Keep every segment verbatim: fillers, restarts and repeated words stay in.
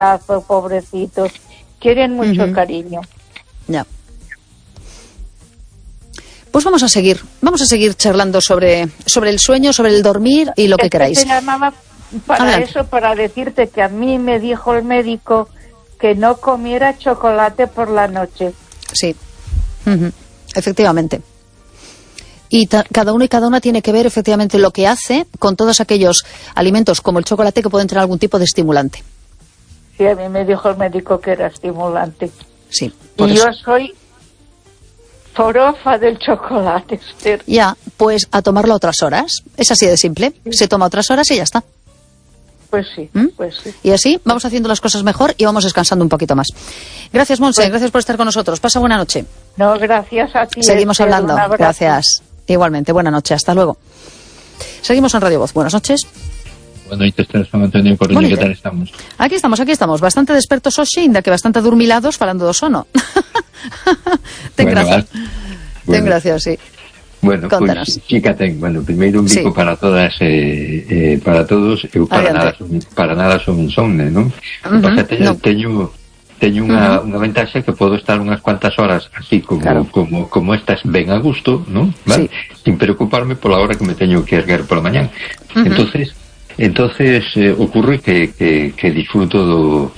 abrazo, pobrecitos. Quieren mucho uh-huh. cariño. Ya. Pues vamos a seguir, vamos a seguir charlando sobre, sobre el sueño, sobre el dormir y lo que es queráis. Que te llamaba para Adelante. Eso, para decirte que a mí me dijo el médico que no comiera chocolate por la noche. Sí, uh-huh. efectivamente. Y ta- cada uno y cada una tiene que ver efectivamente lo que hace con todos aquellos alimentos como el chocolate que pueden tener algún tipo de estimulante. Sí, a mí me dijo el médico que era estimulante. Sí. Y eso. Yo soy forofa del chocolate, Esther. Ya, pues a tomarlo a otras horas. Es así de simple. Sí. Se toma a otras horas y ya está. Pues sí, ¿Mm? pues sí. Y así vamos haciendo las cosas mejor y vamos descansando un poquito más. Gracias, Montse, pues, gracias por estar con nosotros. Pasa buena noche. No, gracias a ti. Seguimos Esther, hablando. Gracias. Igualmente, buena noche. Hasta luego. Seguimos en Radio Voz. Buenas noches. Buenas noches, San Antonio Coruña, ¿qué tal estamos? Aquí estamos, aquí estamos. Bastante despertos hoxe, ainda que bastante adormilados falando do sono. Ten bueno, gracias. Bueno. Ten gracias, sí. Bueno, Contanos. Pues sí que ten. Bueno, primeiro un bico sí. para todas, eh, eh, para todos. Eu para nada, son, para nada son insomne, non? Uh-huh. Pasa, teño, no. teño, teño unha, uh-huh. unha ventaxa que podo estar unhas cuantas horas así como, claro. como, como estas ben a gusto, non? ¿Vale? Sí. Sin preocuparme pola hora que me teño que erguer pola mañán. Uh-huh. Entonces, entonces eh, ocurre que, que, que disfruto do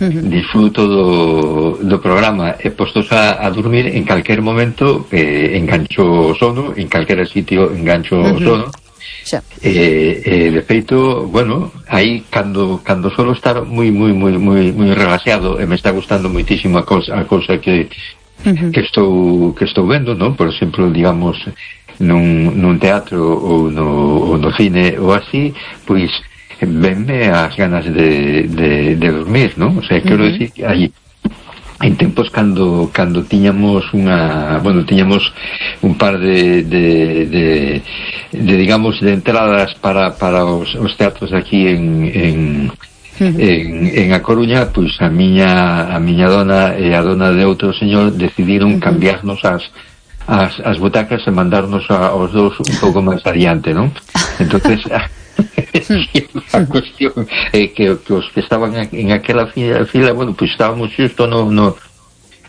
uh-huh. disfruto do, do programa e postos a, a dormir en calquer momento eh, engancho o sono, en calquera sitio engancho uh-huh. o sono sí. eh, eh, de feito, bueno, aí cando, cando solo estar moi moi moi moi moi relaxado e me está gustando moitísimo a cosa, a cosa que uh-huh. que estou que estou vendo, non? Por exemplo, digamos nun, nun teatro ou no, ou no cine ou así, pois venme as ganas de, de, de dormir, non? O sea, quero uh-huh. decir que hai en tempos cando cando tiñamos unha, bueno, tiñamos un par de de, de, de digamos, de entradas para, para os, os teatros aquí en, en Uh-huh. En, en A Coruña, pois a miña a miña dona e a dona de outro señor decidiron uh-huh. cambiarnos as as, as butacas e mandarnos a, aos dous un pouco máis adiante, non? Entonces a, a cuestión é eh, que, que os que estaban en aquela fila, fila bueno, pois estábamos xusto no, no,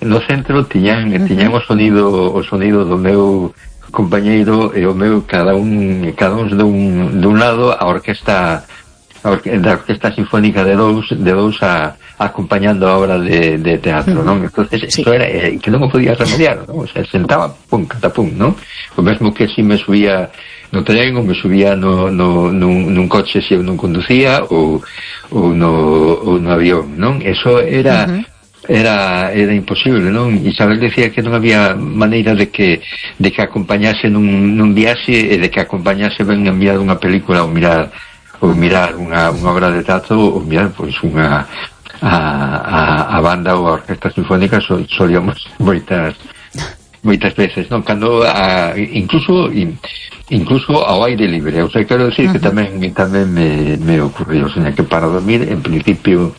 no centro, tiñan, uh-huh. tiñan o sonido o sonido do meu compañeiro e o meu, cada un cada un dun, dun lado, a orquesta a orque, da Orquesta Sinfónica de dous de dous a, a acompañando a obra de, de teatro, non? Entonces, sí. Isto era eh, que non o podía remediar, non? O sea, sentaba, pum, catapum, non? O mesmo que si me subía no tren ou me subía no, no, nun, nun coche se eu non conducía ou, ou, no, ou no avión, non? Eso era... Uh-huh. era era imposible, non? Isabel decía que non había maneira de que de que acompañase nun, nun viaxe e de que acompañase ben a mirar unha película ou mirar ou mirar unha, unha obra de teatro ou mirar, pois, unha a, a, a banda ou a Orquesta Sinfónica so, solíamos moitas moitas veces, non? Cando a, incluso incluso ao aire libre, o sea, quero decir uh-huh. que tamén tamén me, me ocurrió, o sea, que para dormir, en principio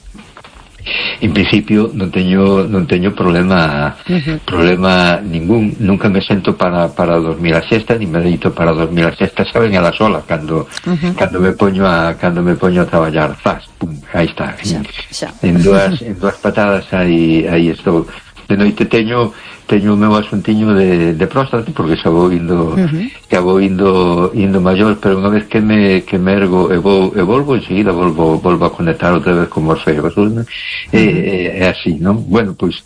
en principio non teño non teño problema uh-huh. problema ningún, nunca me sento para para dormir a siesta, ni me deito para dormir a siesta, saben, a la sola cando uh-huh. cando me poño a cando me poño a traballar, faz, pum, aí está, xa, xa. en dúas en dúas patadas aí aí estou. De noite teño teño o meu asuntiño de, de próstata, porque xa vou indo uh-huh. xa vou indo indo maior, pero unha vez que me que me ergo e vou e volvo enseguida volvo volvo a conectar outra vez con Morfeo, uh-huh. é, é así, non? Bueno, pois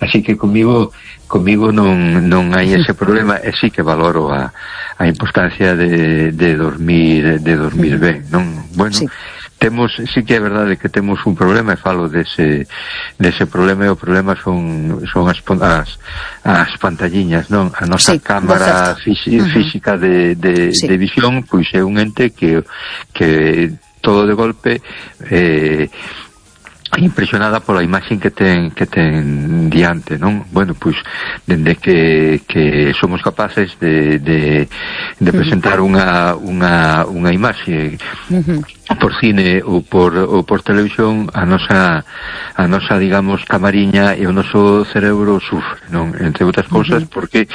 así que comigo comigo non non hai ese problema, e sí que valoro a a importancia de de dormir de dormir uh-huh. ben, non? Bueno, sí. Temos, sí que é verdade que temos un problema, e falo dese dese problema, e o problema son son as as, as pantalliñas, non? A nosa sí, cámara fisi, uh-huh. física de, de, sí. de visión, pois é un ente que que todo de golpe eh impresionada pola imaxen que ten que ten diante, non? Bueno, pois dende que que somos capaces de de de presentar unha unha unha imaxe uh-huh. por cine ou por, ou por televisión a nosa, a nosa, digamos, camariña e o noso cerebro sufre, non? Entre outras cousas, uh-huh. porque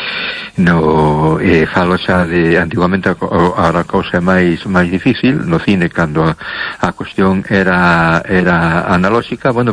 no, eh, falo xa de antiguamente a, a, a cousa é máis, máis difícil no cine, cando a, a cuestión era, era analóxica, bueno,